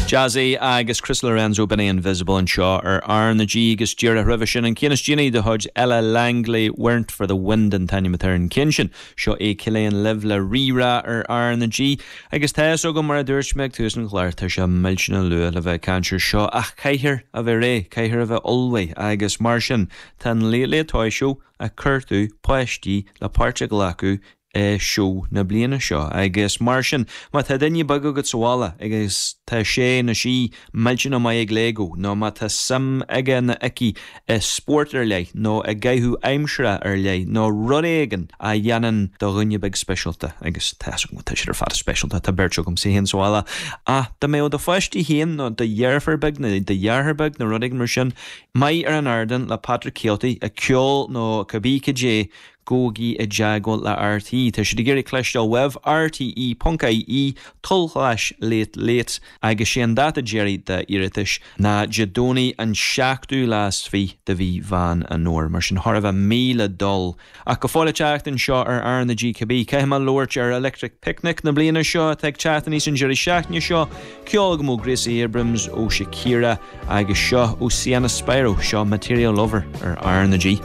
Jazzy agus Chris Lorenzo b'in é Invisible anseo ar R na G agus díreach roimhe sin an ceann is déanaí de chuid Ella Langley Weren't For The Wind an t-ainm atá ar an gceann sin. Seo é Ciléan libh le Rí-Rá ar R na G agus tá fhios agam mar a dúirt mé ag tús an chláir tá sé millteanach luath le bheith ag caint ar seo ach caithfear a bheith réidh, caithfear a bheith ullmhaithe agus mar sin tá an Late Late Toy Show ag cuartú páistí le páirt a ghlacadh i seó na bliana seo agus mar sin má tá duine beag agat sa bhaile agus tá sé nó sí millteanach maith ag Lego nó má tá suim aige nó aici i spórt ar leith nó i gcaitheamh aimsire ar leith nó rud éigin a dhéanann do dhuine beag speisialta agus tá fhios agam tá siad ar fad speisialta, tá beirt agamsa féin sa bhaile ach dá mbeadh do pháiste féin nó do dheirfiúr beag nó do dheartháir beag nó rud éigin mar sin maith ar an ardán le Patrick Kielty ag ceol nó cibé cad é Gabhaigí i dteagmháil le RTÉ. Tá siad ag iarraidh cloisteáil uaibh, rte.ie tulslais late late agus sé an dáta deiridh d'iarratais ná Dé Domhnaigh an seachtú lá is fiche de mhí Mheán an Fhómhair. Mar sin chóir a bheith mí le dul. Ach go fóill ag teacht anseo ar R na G cibé, caithfidh mé labhairt ar Electric Picnic na bliana seo atá ag teacht aníos an deireadh seachtaine seo, ceol agam ó Gracie Abrams, ó Shakira agus seo ó Sienna Spiro, seo Material Lover ar R na G.